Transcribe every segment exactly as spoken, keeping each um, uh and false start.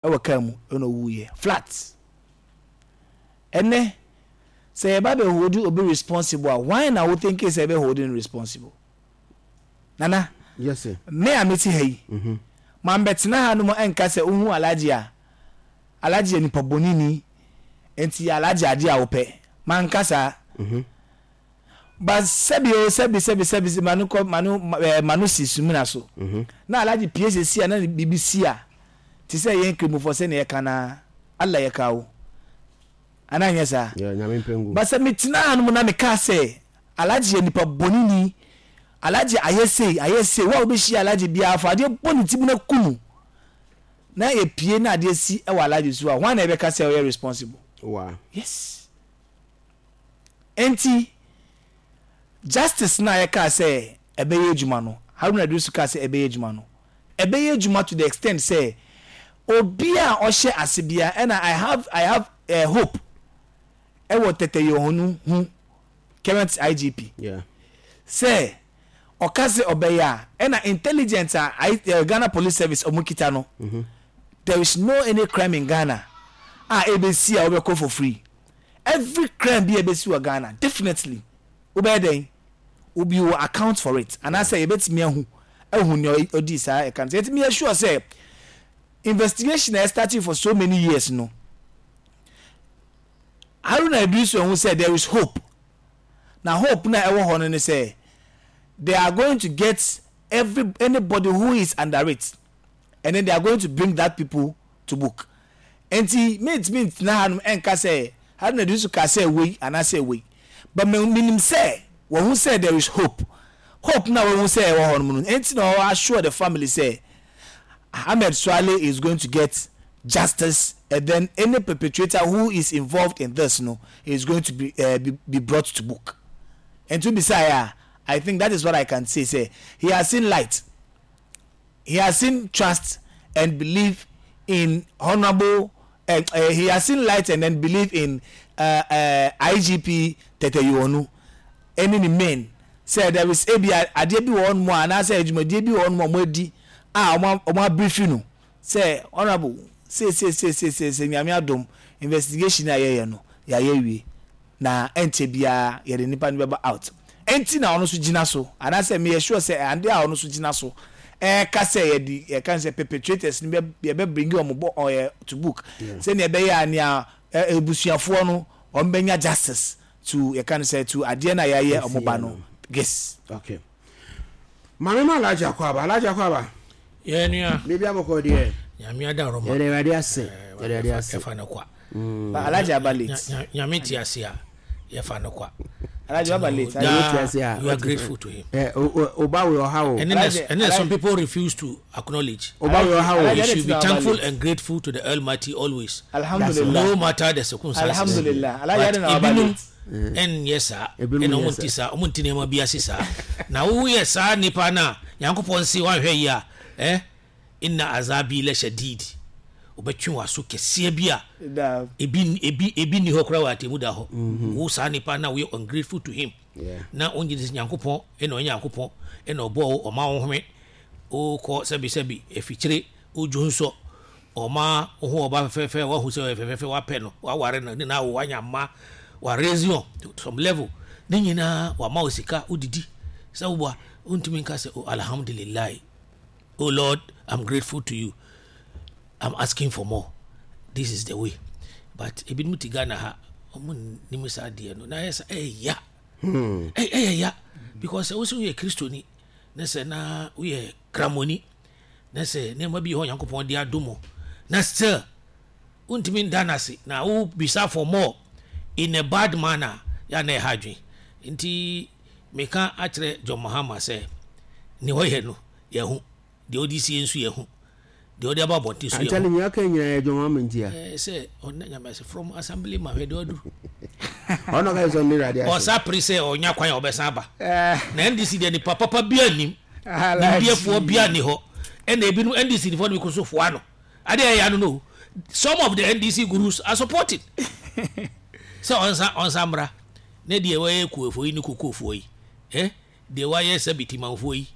Ɛwɔ kaa mu ɛna owuiɛ flat. Ɛnɛ sɛ yɛba bɛ hold obi responsible a, why na wo think sɛ ɛbɛ hold no responsible, Nana? Yes sir. Me a mete ha yi, mambɛtena ha no mu ɛnka sɛ wohu Alhaji a, Alhaji yɛ nipa bɔneni, nti yɛ Alhaji adeɛ a wopɛ. Manka saa. But sɛbi o, sɛbi, sɛbi, sɛbi, ma no kɔ ma no ɛɛ ma no si sumina so na Alhaji pie sisi a na biribi si a, te sɛ yɛn Kramofoɔ sɛnea yɛka na Allah yɛka o anaa nyɛ saa? Yeah, Nyame mpɛ ngu. But sɛ metena ha no mu na meka sɛ Alhaji yɛ nipa bɔneni, Alhaji ayɛ sei, ayɛ sei, wo a wobɛhyia Alhaji biara, fa adeɛ bɔ ne ti mu na ku no, na yɛpie na adeɛ si wɔ Alhaji so a, hwan na yɛbɛka sɛ ɔyɛ responsible? Wa. Yes, enti justice na yɛka sɛ ɛbɛyɛ adwuma no, Haruna Iddrisu kaa sɛ ɛbɛyɛ adwuma no, ɛbɛyɛ adwuma to the extent sɛ obi a ɔhyɛ ase bia, ɛna i have i have uh, hope ɛwɔ Tetteh Yohuno ho, current I G P, Yeah. sɛ ɔka sɛ ɔbɛyɛ a, ɛna intelligence a I, uh, Ghana Police Service ɔmo kita no, there is no any crime in Ghana a ebesi a wɔbɛkɔ for free. Every crime bi a ebesi wɔ Ghana, definitely wobɛyɛ dɛn, obi will account for it, anaasɛ yɛbɛtumi ahu ahu nea ɔdi saa ɛka no. Sɛ yɛtumi yɛ sure sɛ investigation a starting for so many years no, Haruna Iddrisu ɛho sɛ there is hope, na hope na ɛwɔ hɔ no ne sɛ they are going to get every anybody who is under it and then they are going to bring that people to book. Nti mintimi ntena hanom ɛnka sɛ Haruna Iddrisu ka sɛ wei anaasɛ wei, but minim sɛ wɔn ho sɛ there is hope. Hope na wɔn ho sɛ ɛwɔ hɔ nom no, nti na ɔwɔ assure the family sɛ Ahmed Suale is going to get justice and then any perpetrator who is involved in this no is going to be uh, be, be brought to book. And to be say, I think that is what I can say, say he has seen light, he has seen trust and believe in honourable uh, uh, he has seen light and then believe in uh, uh, I G P Tetteh Yohuno ɛne ne men sɛ there is ebi adeɛ bi wɔ hɔ nom a anaasɛ adwumadie bi wɔ hɔ nom a wɔn adi a wɔn wɔn abrief no sɛ honourable sei sei sei sei sei sei, Nyame adom, investigation a yɛyɛ no yɛayɛ wie na ɛnkyɛ biara yɛde nipa no bɛba out. Ɛnti na ɔno nso gyina so, anaasɛ meyɛ sure sɛ ade a ɔno nso gyina so ɛɛka sɛ yɛde yɛka sɛ perpetrators no bɛ yɛbɛ bring wɔn bɔ ɔyɛ to book, sɛnea ɛbɛyɛ a nea ɛ ebusuafoɔ no wɔn bɛnya justice to yɛka no sɛ to adeɛ no a yɛayɛ ɔmo ba no, yes. Okay, maame ma Alhaji akɔ aba, Alhaji akɔ aba. Yɛ nua. Biribi abɔkɔ deɛ. Nyame ada rɔma. Yɛde Awurade ase, yɛde Awurade ase. Yɛfa no kwa. But Alhaji aba late. Nyame te ase a, yɛfa no kwa. Alhaji aba late. Nyame te ase a. You are grateful to him. Ɛ o, oba wo ɔha o. And then, and then some people refuse to acknowledge. Oba wo ɔha o. You should be thankful and grateful to the Almighty always. Alhamdulillah. No matter the circumstances. Alhamdulillah. Alhaji But adi na aba ebinom late. ɛnyɛ saa. Ebinom ɛna nyɛ ɔmo saa. nti saa, ɔmo nti nneɛma bi ase saa na woyɛ saa nipa na Nyankopɔn si wanhwɛ yi a, ɛ inna azabi la shadid, ɔbɛtwe w'aso kɛseɛ bi a Da. ebi ebi ebi ni hɔ koraa wɔ atemu da hɔ. Wo saa nipa na woyɛ ungrateful to him Yeah. na wongye de sɛ Nyankopɔn ɛna ɔyɛ Nyankopɔn, ɛna ɔbɔ wo, ɔma wo home, wokɔ sɛbisɛbi afikyire wodwo nsɔ, ɔma wo ho ɔba fɛfɛɛfɛ, wahu sɛ ɔyɛ fɛfɛɛfɛ, wapɛ no, waware no, ne na wo wanya mma, waraise on to some level, ne nyinaa wama wo sika wodidi sɛ woboa, wontumi nka sɛ, "Oh, alhamdulillah, oh Lord, I'm grateful to you, I'm asking for more." This is the way. But ebinom te Ghana ha, ɔmo nim saa adeɛ no na ɛyɛ sɛ ɛyɛ ya, Ɛ- ɛyɛ ya because sɛ wosi woyɛ Kristoni na sɛ na woyɛ Kramoni na sɛ nneɛma bi wɔ hɔ Nyankopɔn de adom wo na still wontumi nda no ase na wobisa for more in a bad manner yɛ na ɛha adwen. Nti meka akyerɛ John Mahama sɛ ne ɔyɛ no yɛho deɛ ɔde sie nso, yɛho deɛ ɔde aba abɔnten so yɛho. Antale nyina ka nyinaa yɛ dwom ama ntia. Ɛɛ, sɛ ɔnna Nyame ase from assembly ma hwɛ deɛ ɔduru. Ɔno ka sɛ ɔne Awurade ase. Ɔsa pere sɛ ɔnya kwan a ɔbɛsan aba na N D C deɛ, nipa papa bia nim, nimdeɛfoɔ bia ni hɔ, ɛna ebinom N D C nifoɔ no bi ko so foa no adeɛ ɛyɛ ano no. Some of the N D C gurus are supporting sɛ ɔnsa ɔnsa mmra ne deɛ wɔyɛ kuofoɔ yi ne kokofoɔ yi, ɛ deɛ wɔayɛ sɛ bitimanfoɔ yi,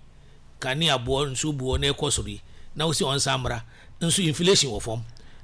kanea boɔ nso boɔ na ɛkɔ soro yi na wosi ɔnsa mmra nso, inflation wɔ fam.